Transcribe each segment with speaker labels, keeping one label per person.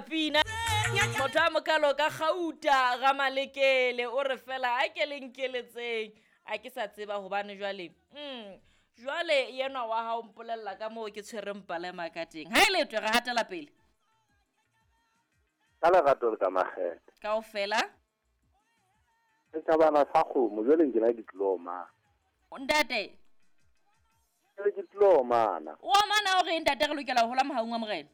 Speaker 1: pina. Motho a mokalo ka gauta ga malekele o re fela a ke le nkeletseng a ke sa tseba hobane jwale jwale yenwa wa hao mpolella ka moo ke tshwereng palema ka teng. Ha e letwe re hatela pele.
Speaker 2: Ka lerato le ka makgethe.
Speaker 1: Kaofela.
Speaker 2: Setjhabana sa kgomo jwale nkena ke tlilo omana.
Speaker 1: Ntate.
Speaker 2: Ke ke tlilo omana.
Speaker 1: O omana o re ntate re lokela ho hola mohaung wa Morena.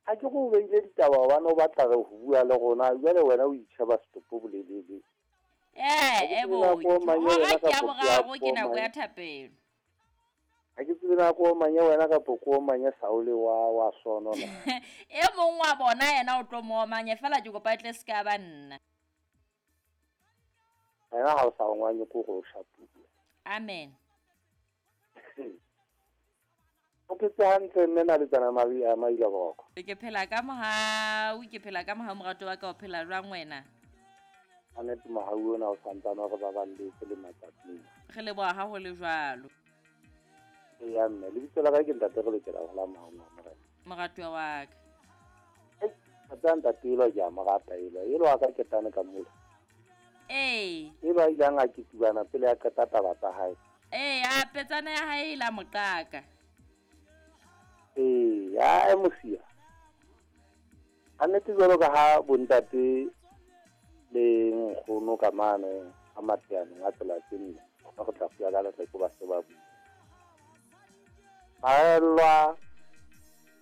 Speaker 2: Ha ke go beile ditaba hobane o batla re ho bua le rona jwale wena o itjheba setopo bolelele.
Speaker 1: Hora ke ya boraro ke nako ya thapelo.
Speaker 2: Ha ke tsebe na ko omanye wena kapa ko omanye Saule wa sono na.
Speaker 1: E mong wa bona yena o tlo mo omanye fela ke kopa tle se ka ba nna.
Speaker 2: Ena ha o sa ongwanye ko go shapuwe.
Speaker 1: Amen.
Speaker 2: O phetse hantle mme na le tsana mari a maila boko.
Speaker 1: Ke phela ka mohau, ke phela ka mohau morato wa ka o phela jwang wena?
Speaker 2: Anete mohau ona o santsane re ba balletse le matsatsing.
Speaker 1: Re leboha ha ho le jwalo.
Speaker 2: Eya mme, lebitso la ka ke ntate re lokela ho la mohau wa Morena.
Speaker 1: Moratuwa wa ka.
Speaker 2: Ei, ntate elwa ke a mo rata elwa. Elwa ka ketane ka mola.
Speaker 1: Ee.
Speaker 2: Elwa a ileng a ketubana pele a qeta taba tsa hae.
Speaker 1: Ee, a petsana ya hae e la moqaka.
Speaker 2: Ee, ya mosia. Annete jwalo ka ha bontate le nkgono ka mane a mateanong a tsela tse nne, ba go tla fuya ka letleko ba se ba bua. Maelwa